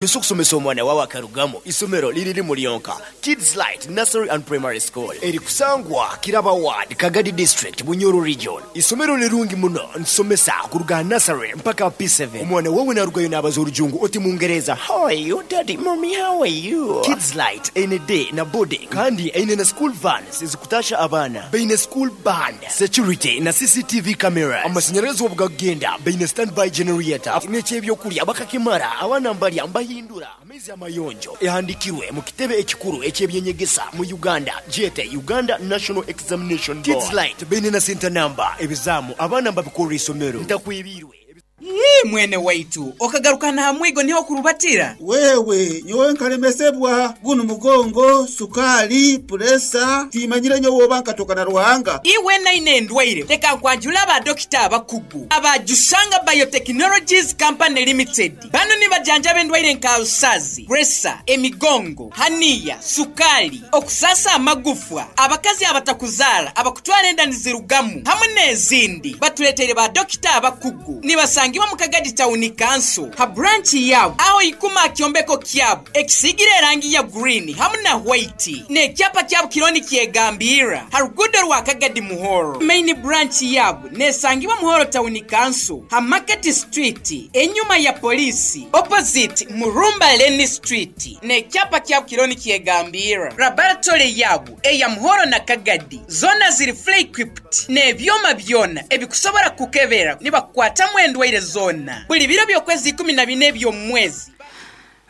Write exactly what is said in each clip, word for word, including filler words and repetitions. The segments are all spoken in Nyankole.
Ese okusomesa omwana wawe akarugamu isomero liri limu lyonka, Kids Light Nursery and Primary School eri kusangwa Kiraba Ward, Kagadi District, Bunyoro Region. Isomero lirungi muno nitusomesa kuruga aha nursery mpaka P seven. Omwana wawe narugayo nabaza orujungu oti mungereza How are you daddy, mummy how are you? Kids Light eine day na boarding kandi eine na school vans ezikutasha abaana. Baine school band, security na C C T V cameras. Amashanyarazi obu gakugenda baine standby generator n'eky'ebyokurya bakakimara abaana mbarya mbahindura amaizi amayonjo. Ehandikirwe mu kitebe ekikuru eky'ebyenyegesa mu Uganda gyete Uganda National Examination Board. Kids Light baine na center number ebizaamu abaana mbabikorera isomero ntakwebiirwe. Yii mwene waitu, okagarukana aha mwigo niho okurubatira? Wewe, nyowe nkalemesebwa gunu mugongo, sukaali, puresa, tiimanyire nyowe oba nkatoka na Ruhanga. Iwe naine endwaire, leka nkwanjule aba dokita abakugu aba Jushanga Biotechnologies Company Limited. Bano nibajanjaba endwaire nka alusazi, puresa, emigongo, haniya, sukaali, okusaasa amagufwa, abakazi abatakuzaara, abakutwara enda nizirugamu hamwe n'ezindi. Batuleteire ba dokita abakugu. Nibasangibwa mu Kagadi Town Council ha branch yaabo aho ikuma aha kyombeko kyabo ekisiigire erangi ya green hamu na white n'ekyapa kyabo kiriho nikyegambirra ha ruguudo rwa Kagadi Muhoro. Main branch yaabo nesangibwa Muhoro Town Council ha Market Street enyuma ya poliisi opposite Murumba Lane Street n'ekyapa kyabo kiriho nikyegambirra. Laboratory yaabo eya Muhoro na Kagadi zoona ziri fully equipped n'ebyoma byona ebikusobora kukebera nibakukwatamu endwaire zoona buli biro by'okwezi ikumi na bina eby'omu mwezi.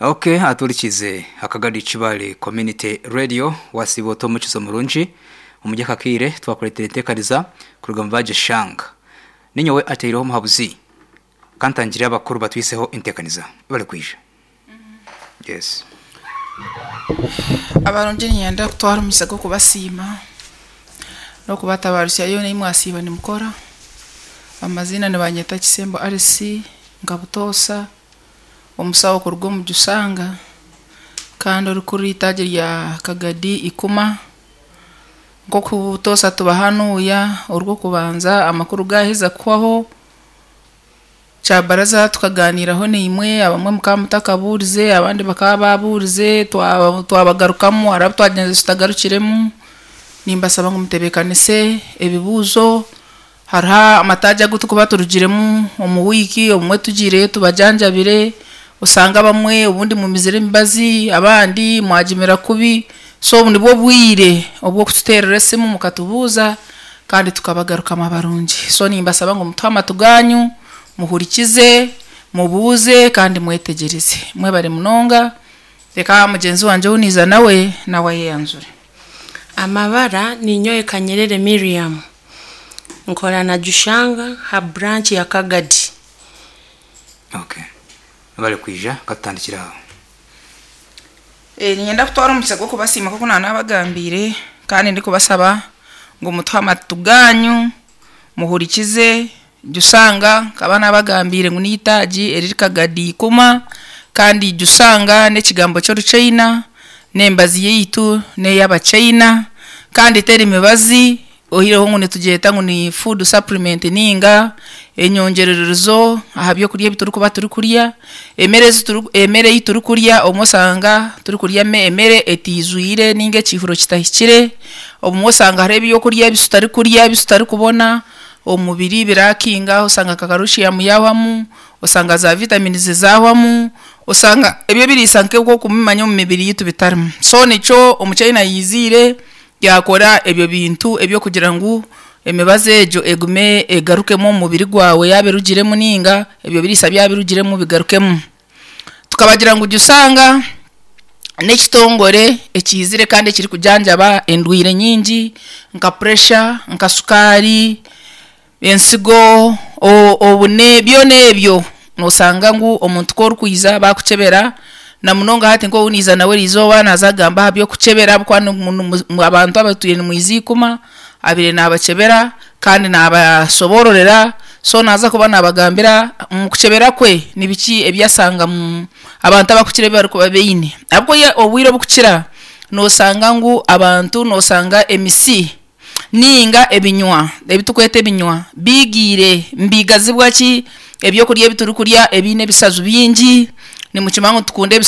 Ok, aturikize Akagadi Kibale Community Radio wasiba ota omukizo murungi omuri aka kaire twakureetera enteekaniza kuruga omu Bagishanga. Ninyowe ataireho omuhabuzi kantangire abakuru batwiseho enteekaniza barikwija. Yes. Abarungi niinyenda kutwara omugisa gw'okubasiima n'okubatabaarusya yoona ei mwasiiba nimukora. Amaziina nibanyeta Kisembo Alice nka butoosa omusawo kuruga omu Jusanga kandi orikurira eitaagi rya Kagadi Ikuma. Nk'oku butoosa tubahanuuya orw'okubanza amakuru gaaheza kuhwaho kyabaraza tukaganiiraho naimwe abamwe mukaba mutakabuurize abandi bakaba baabuurize twaba twabagarukamu hariho abu twagyenzire tutagarukiremu. Nimbasaba ngu mutebeekanise ebibuuzo hariho amataagi agu turikuba turugiremu omu wiiki obumwe tugiireyo tubajanjabire osanga abamwe obundi mumizire emibazi abandi mwagimira kubi so obu nibwo bwire obw'okututeerera esimu mukatubuuza kandi tukabagarukamu abarungi. So nimbasaba ngu mutuhe amatu gaanyu muhurikize mubuuze kandi mwetegyereze. Mwebare munonga reka mugyenzi wangye ou niiza nawe nawe ayeyanjure. Amabara ninyowe Kanyerere Miriam nkora na Jushanga ha branch ya Kagadi. Okay. Barikwija katutandikire aho. Eh, niinyenda kutwara omugisa gw'okubasiima nk'oku naanabagambiire kandi ndikubasaba ngu mutuhe amatu gaanyu muhurikize Jusanga nkaba naabagambiire ngu n'eitaagi eriri Kagadi Ikuma kandi Jusanga n'ekigambo ky'Oruchaina n'embazi yaitu n'ey'Abachaina kandi teri mibazi oihireho ngu nitugyeta ngu ni food supplement ninga enyongyerererizo aha byokurya ebi turikuba turikurya. Emere ezi turi emere ei turikurya obumwe osanga turikurya emere etiijwire ninga ekiihuro kitahikire obumwe osanga hariho ebyokurya ebi tutarikurya ebi tutarikubona omu mubiri birakinga osanga nka calcium yaahwamu osanga za vitamins zaahwamu osanga ebyo ebiriisa nk'oku okubimanya omu mibiri yaitu bitarimu. So nikyo omuchaina yaiziire yaakora ebyo bintu eby'okugira ngu emibazi egyo egume egarukemu omu mubiri gwawe yaaba erugiremu ninga ebyo biriisa byaba birugiremu bigarukemu. Tukabagira ngu Jusanga n'ekitongore ekiizire kandi ekirikujanjaba endwaire nyingi nka pressure, nka sukaari, ensigo, obune byona ebyo noosanga ngu omuntu ku orikwija baakukyebera na munonga hati nk'ou niiza nawe eriizooba naaza kugamba aha by'okukyebera ahabw'okuba abantu abatwire nimwiza Ikuma abaire naabakyebera kandi naabasoboororera so naaza kuba naabagambira omu kukyebera kwe nibiki ebi ashanga abantu abakukira ebi barikuba baine. Ahabw'okuba obwire obukukira noosanga ngu abantu noosanga emisi ninga ebinywa ebi turikweta ebinywa biigiire nibigazibwa ki ebyokurya ebi turikurya ebiine ebisaju bingi. Nimukima ngu tukunde.